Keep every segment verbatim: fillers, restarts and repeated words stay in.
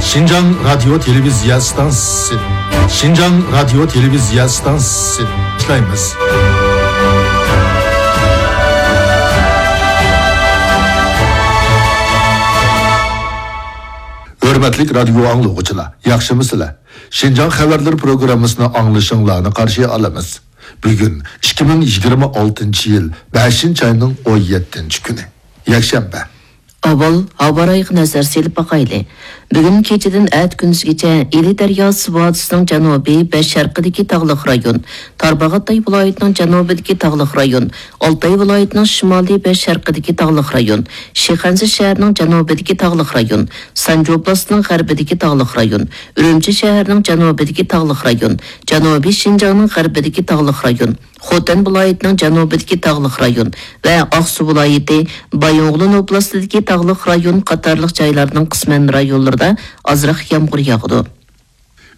شىنجاڭ رادىيو تېلېۋىزىيە ئىستانسىسى. شىنجاڭ رادىيو تېلېۋىزىيە ئىستانسىسى. ئىشلەيمىز. ھۆرمەتلىك رادىيو ئاڭلىغۇچىلار، ياخشىمۇسىلەر؟ شىنجاڭ خەۋەرلىرى پروگراممىسىنى ئاڭلىشىڭلارنى قارشى ئالىمىز. بۈگۈن ئىككى مىڭ يىگىرمە ئالتىنچى يىل بەشىنچى ئاينىڭ ئون يەتتىنچى كۈنى، يەكشەنبە. ئاۋۋال ھاۋا رايىغا نەزەر سېلىپ باقايلى. بۈگۈن كېچىدىن ئەتە كۈندۈزگىچە ئىلى دەرياسى ۋادىسىنىڭ جەنۇبى ۋە شەرقىدىكى تاغلىق رايون، تارباغاتاي ۋىلايىتىنىڭ جەنۇبىدىكى تاغلىق رايون، ئالتاي ۋىلايىتىنىڭ شىمالى ۋە شەرقىدىكى تاغلىق رايون، شىخەنزە شەھىرىنىڭ جەنۇبىدىكى تاغلىق رايون، سانجى ئوبلاستىنىڭ غەربىدىكى تاغلىق رايون، ئۈرۈمچى شەھىرىنىڭ جەنۇبىدىكى تاغلىق رايون، جەنۇبىي شىنجاڭنىڭ غەربىدىكى تاغلىق رايون، خوتەن ۋىلايىتىنىڭ جەنۇبىدىكى تاغلىق رايون ۋە ئاقسۇ ۋىلايىتى، بايىنغولىن ئوبلاستىدىكى تاغلىق رايون قاتارلىق جايلارنىڭ قىسمەن رايونلىرىدا ئازراق يامغۇر ياغىدۇ.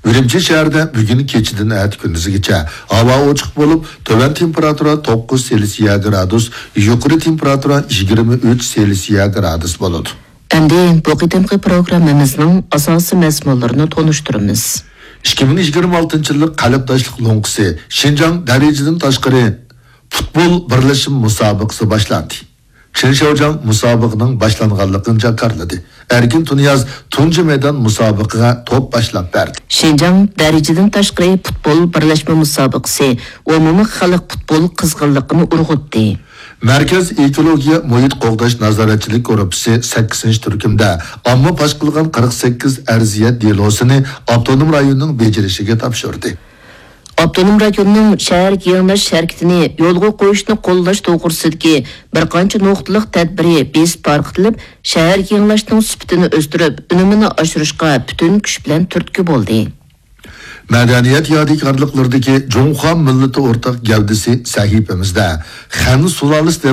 ئۈرۈمچى شەھىرىدە بۈگۈن كېچىدىن ئەتە كۈندۈزگىچە ھاۋا ئوچۇق بولۇپ، تۆۋەن تېمپېراتۇرا توققۇز سېلسىيە گرادۇس، يۇقىرى تېمپېراتۇرا يىگىرمە ئۈچ سېلسىيە گرادۇس بولىدۇ. ئەمدى بۇ قېتىمقى پروگراممىمىزنىڭ ئاساسىي مەزمۇنلىرىنى تونۇشتۇرىمىز. ئىككى مىڭ يىگىرمە ئالتىنچى يىللىق قەلبداشلىق لوڭقىسى شىنجاڭ دەرىجىدىن تاشقىرى پۇتبول بىرلەشمە مۇسابىقىسى باشلاندى. چېن شياۋجياڭ مۇسابىقىنىڭ باشلانغانلىقىنى جاكارلىدى. ئەركىن تۇنىياز تۇنجى مەيدان مۇسابىقىگە توپ باشلاپ بەردى. شىنجاڭ دەرىجىدىن تاشقىرى پۇتبول بىرلەشمە مۇسابىقىسى ئومۇمىي خەلق پۇتبول قىزغىنلىقىنى ئۇرغۇتتى. مەركەز ئېكولوگىيە مۇھىت قوغداش نازارەتچىلىك گۇرۇپپىسى سەككىزىنچى تۈركۈمدە ئامما پاش قىلغان قىرىق سەككىز ئەرزىيەت دېلوسىنى ئاپتونوم رايوننىڭ بېجىرىشىگە تاپشۇردى. ئاپتونوم رايوننىڭ شەھەر يېڭىلاش ھەرىكىتىنى يولغا قويۇشنى قوللاش توغرىسىدىكى بىر قانچە نۇقتىلىق تەدبىرى بېسىپ تارقىتىلىپ، شەھەر يېڭىلاشنىڭ سۈپىتىنى ئۆستۈرۈپ، ئۈنۈمىنى ئاشۇرۇشقا پۈتۈن كۈچ بىلەن تۈرتكە بولدى. مەدەنىيەت يادىكارلىقلىرىدىكى جۇڭخۇا مىللىتى ئورتاق گەۋدىسى سەھىپىمىزدە خەن سۇلالىسى